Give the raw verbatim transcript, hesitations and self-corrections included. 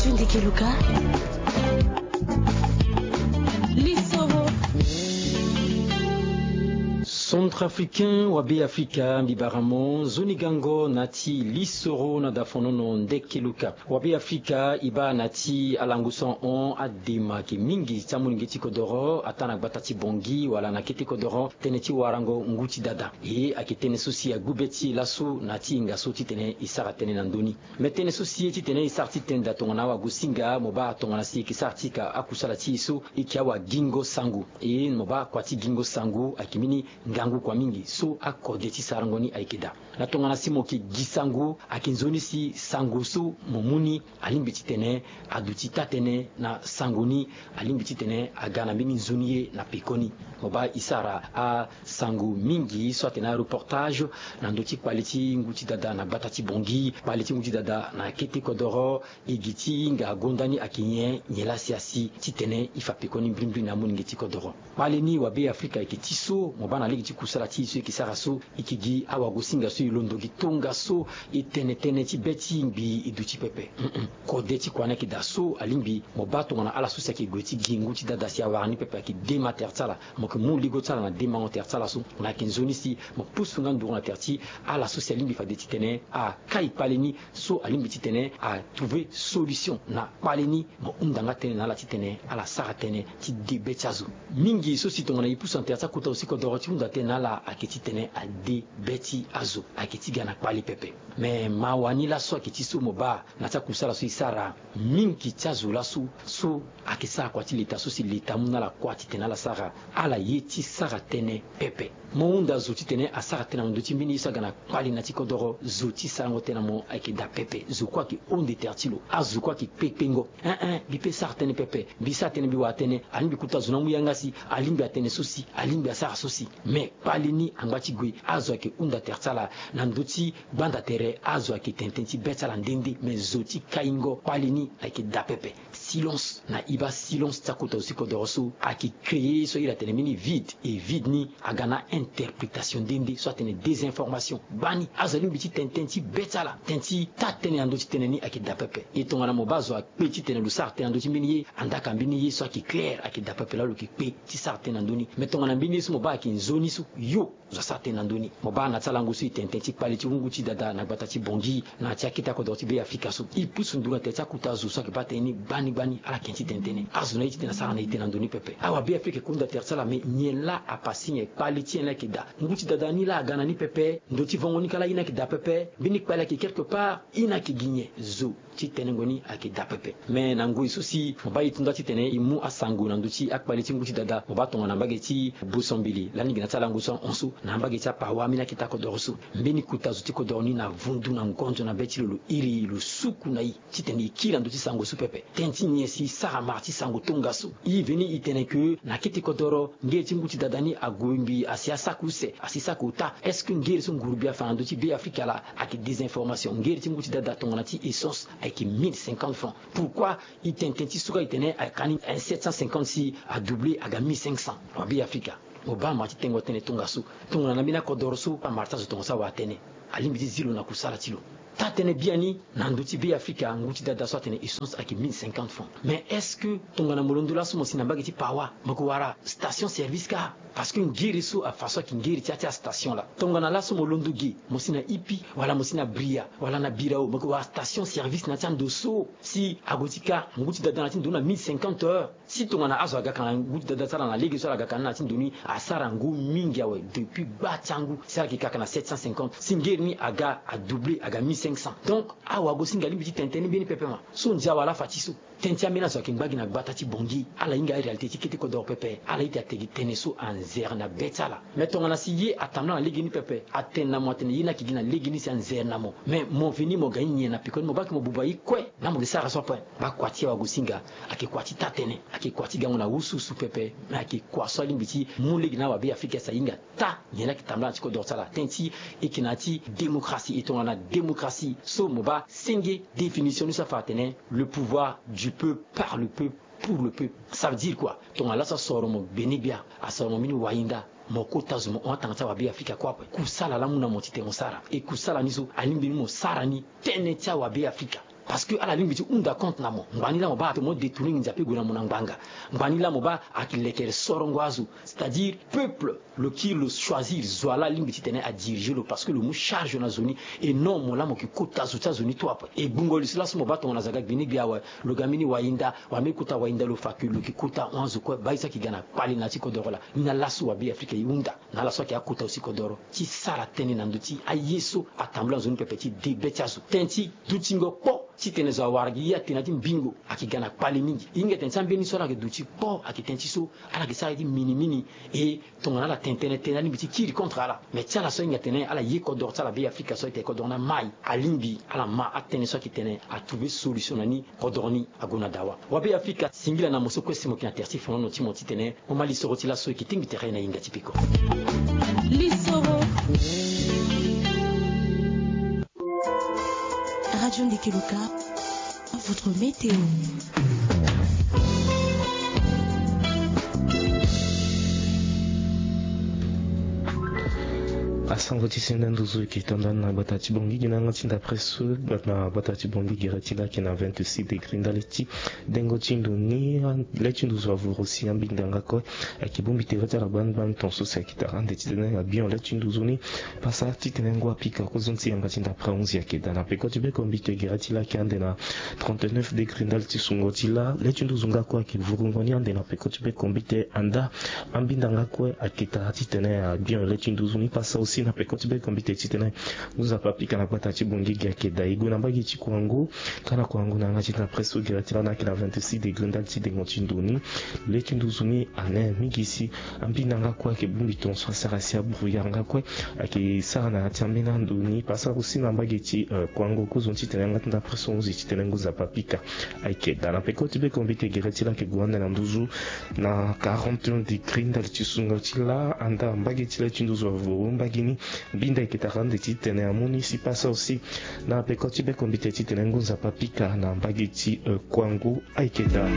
Tunde Keluka. Lisoro. Centrafricain wa Be Afrika, mbi bara mo nzoni gango na ti lisoro na dafonono nde Keluka. Wa Be Afrika, e baa na ti alango so ahon adema ayeke mingi ti amolenge ti kodoro, ataa na gbata ti Bangui wala na kete kodoro, tënë ti warango ngu ti dada. E ayeke tënë so si agbu be ti e laso na ti hinga so titene e sara tënë na ndö ni. Me tënë so si e titene e sara ti tene daa tongana awagosinga, mo baa tongana si e yeke sara ti ka akusala ti e so, e yeke awagingo sango. E mo baa kua ti gingo sango ayeke mbeni ngangu kua mingi so akode ti sarango ni ayeke daa. Na tongana si mo yeke gi sango, ayeke nzoni si sango so mo mu ni alingbi titene aduti taa-tënë na sango ni, alingbi titene aga na mbeni nzoni ye na pekoni. Mo baa e sara asango mingi so atene areportage na ndö ti kpale ti ngu ti dada na gbata ti Bangui, kpale ti ngu ti dada na kete kodoro, e gi ti hinga gonda ni ayeke nyen, nyen laa si asi titene e fa pekoni mbrimbri na amolenge ti kodoro. Kpale ni wa Be Afrika ayeke ti so, mo baa na lege ti kusala ti e so e yeke sara so, e yeke gi awagosinga so e londo gi tongaso, e tene tënë ti be ti ngbii e duti pepe. Mm-mm. Kode ti kua ni ayeke daa so alingbi mo baa tongana ala so si ayeke gue ti gi ngu ti dada si awara ni pepe ayeke dema tere ti ala, mo yeke mu ligo ti ala na demango tere ti ala so. Na ayeke nzoni si mo pusu nga nduru na tere ti ala so si alingbi fade titene akai kpale ni so alingbi titene atrouve solution na kpale ni. Mo hunda nga tënë na ala titene ala sara tënë ti de be ti azo. Mingi so si tongana e pusu na tere ti akota zo ti kodoro ti hunda tënë na ala ayeke titene ade be ti azo, ayeke ti ga na kpale pepe. Me mawa ni laso ayeke ti so mo baa na ti akusala so e sara, mingi ti azo laso so ayeke sara kua ti leta so si leta amu na ala kua titene ala sara, ala ye ti sara tënë pepe. Mo hunda zo titene asara tënë na ndö ti mbeni ye so aga na kpale na ti kodoro, zo ti sarango tënë na mo ayeke daa pepe. Zo kue ayeke honde tere ti lo, azo kue ayeke kpekpengo. Ein ein, mbi pe sara tënë pepe, mbi sara tënë, mbi wara tënë, alingbi kota zo ni amu yanga si, alingbi atene so si, alingbi asara so si. Me kpale ni angba ti gue, azo ayeke hunda tere ti ala na ndö ti gbanda tere, azo ayeke tene tënë ti be ti ala nde nde, me zo ti kaingo kpale ni ayeke daa pepe. Silence. Na e baa silence ti akota zo ti kodoro so ayeke créer so a iri atene mbeni vide, e vide ni aga na interprétation nde nde so atene désinformation. Gbani azo alingbi ti tene tënë ti be ti ala, tënë ti taa-tënë na ndö ti tënë ni ayeke daa pepe. E tongana mo baa zo akpe titene lo sara tënë na ndö ti mbeni ye, andaa ka mbeni ye so ayeke clair, ayeke daa pepe laa lo yeke kpe ti sara tënë na ndö ni. Me tongana mbeni ye so mo baa ayeke nzoni so, yo zo asara tënë na ndö ni. Mo baa na ti alango so e tene tënë ti kpale ti hungu ti dada na gbata ti Bangui, na ti akete akodoro ti Be Afrika so, e pusu nduru na tere ti akota zo so ayeke baa tënë ni gbani gbani, ala yeke ti tene tënë. Azo ni aye titene asara na ete na ndö ni pepe. Awa Be Afrika e hunda tere ti ala, me nyen laa apasé nyen? Kpale ti nyen laa ayeke daa? Ngu ti dada ni laa aga na ni pepe, ndö ti vongo ni kâ laa ye ni ayeke daa pepe. Mbeni kpale ayeke quelque part, ye ni ayeke gi nyen? Zo ti tenengo ni ayeke daa pepe. Me na ngoi so si mo baa e to nda titene e mu asango na ndö ti akpale ti ngu ti dada, mo baa tongana mbage ti Bosombele lani gi na ti alango so ahon so, na mbage ti aPawa, ambeni akete akodoro so, mbeni kota zo ti kodoro ni na vundu na ngonzo na be ti lo, lo iri, lo suku na e titene e kiri na ndö ti sango so pepe. Tënë ti nyen si e sara mara ti sango tongaso? E veni e tene ke na kete kodoro ngere ti ngu ti dada ni ague ngbii asi asaka use, asi saka ota. Est-ce que ngere so nguru-gbia afa na ndö ti Be Afrika laa ayeke désinformation? Ngere ti ngu ti dada tongana ti essence ayeke mille cinquante francs. Pourquoi e tene tënë ti so kâ e tene ayeke ni sept cent cinquante si adoublé aga mille cinq cents? Wa Be Afrika, mo baa mara ti tengo tënë tongaso. Tongana na mbeni akodoro so amara ti azo tongaso awara tënë, alingbi ti zi lo na kusala ti lo. Taa-tënë biani, na ndö ti Be Afrika, ngu ti dada so atene essence ayeke mille cinquante francs. Mais est-ce que tongana mo londo laso mo si na mbage ti Pawa, mo yeke wara station service kâ? Parce que ngere so afa so ayeke ngere ti ya ti astation laa. Tongana laso mo londo ge, mo si na Ipi, wala mo si na Bria, wala na Birao, mo yeke wara station service na ya ti ando so si ague ti kâ ngu ti dada na ti ndo na mille cinquante heures. Si tongana azo aga ka na ngu ti dada ti ala na lege so ala ga ka ni na ti ndo ni, asara ngu mingi awe. Depuis gba ti angu si ala yeke ka ka na sept cent cinquante, si ngere ni aga adoublé aga mille cinq cents. Donc awagosinga alingbi ti tene tënë ni mbeni pepe ma. So ndia wala afa ti so? Tënë ti ambeni azo ayeke ngba gi na gbata ti Bangui, ala hinga aréalité ti kete kodoro pepe, ala ita tene tënë so anzere na be ti ala. Mais tongana si ye atambula na lege ni pepe, atene na mo atene ye ni ayeke gi na lege ni si anzere na mo. Mais mo veni mo ga ni nyen na pekoni? Mo baa ke mo buba ye kue, na mo yeke sara so ape. Baa kua ti awagosinga ayeke kua ti taa-tënë, ayeke kua ti gango na wusuwusu pepe, me ayeke kua so alingbi ti mu lege na awa Be Afrika si ahinga taa nyen laa ayeke tambula na ti kodoro ti ala. Tënë ti e yeke na ya ti démocratie, e tongana démocratie so mo baa senge définition ni so afa atene le pouvoir du peuple, par le peuple, pour le peuple. Ça veut dire quoi? Tongana laso asoro mo gbene-gbia, asoro mo mbeni wayinda, mo kota zo mo hon atanga ti awa Be Afrika kue ape. Kusala laa amu na mo titene mo sara. E kusala ni so alingbi ni mo sara ni tënë ti awa Be Afrika. Parce que ala lingbi ti hunda compte na mo. Ngbani laa mo baa ape mo détourner nginza ape gue na mo na ngbanga. Ngbani laa mo baa ayeke lekere sorongo azo. C'est-à-dire peuple lo kiri lo choisir zo wa laa alingbi titene adiriger lo parce que lo mu charge na zo ni. Et non mo laa mo yeke kota zo ti azo ni to ape. E gbungo li so laso mo baa tongana zaga gbini gbe awe. Lo ga mbeni wayinda wala mbeni kota wayinda lo fa ke lo yeke kota ahon azo kue baa ye so ayeke ga na kpale na ya ti kodoro laa. Ni na laso wabe afrika e hunda na ala so ayeke akota aussi kodoro ti sara tënë na ndö ti aye so atambula na zo ni pepe ti de be ti azo. Tënë ti dutingo kpo titene zo awara gi ye atene na ya ti mbingo ayeke ga na kpale mingi. E hinga tene ti ambeni so ala yeke duti kpo ayeke tënë ti so ala yeke sara ye ti minimini. E tongana ala tene tënë tënë alingbi ti kiri contre ala. Mais ti ala so ahinga tene ala ye kodoro ti ala be afrika so ayeke kodoro ni amai. Alingbi ala ma atënë so ayeke tene atrouver solution na ni. Kodoro ni ague na dawa. Wabe afrika singila na mo so kue si mo yeke na tere ti fonono ti mo titene mo ma lisoro ti laso e yeke tingbi tere na hinga ti peko. Lisoro. Radio Ndikeluka, votre météo. Asango ti senda nduzu e yeke to ndani na gbata ti Bangui gi na yanga ti ndapre so. Na gbata ti Bangui gere ti laa ayeke na vingt-six degré ndali ti dengo ti ndo ni. Le ti nduzu avuru si ambinda nga kue ayeke bongbi tere ti ala gbani gbani ton so si ayeke tara ande titene abion le ti nduzu ni. Pasa titene ngu apika kozoni ti yanga ti ndapre ahunzi ayeke daa na peko ti bekombite gere ti laa ayeke ande na trente-neuf degré ndali ti sungo ti laa. Le ti nduzu nga kue ayeke vurungo ni ande na peko ti bekombite anda. Ambinda nga kue ayeke tara titene abion le ti nduzu ni pasa aussi na peko ti bekombite titene ngu nzapa apika na gbata ti Bangui gi ayeke daa e gue na mbage ti Kouangou. Ka na Kouangou na yanga ti ndapre so gere ti laa na ayeke na vingt-six degré ndali ti dengo ti ndo ni. Le ti nduzu ni ane mingi si ambinda nga kue ayeke bongbi ton so asara si abrouillard nga kue ayeke sara na ya ti ambeni ando ni pasa aussi na mbage ti Kouangou kozoni titene yanga ti ndapre so ahunzi titene ngu nzapa apika. Ayeke daa na peko ti bekombite gere ti laa ayeke gue ande na nduzu na quarante et un degré ndali ti sungo ti laa anda mbage ti le ti nduzu avuru mbage ni. Mbinda ayeke tara ande titene amu ni si pasa aussi na peko ti bekombite titene ngu nzapa apika na mbage ti Kouangou ayeke daa.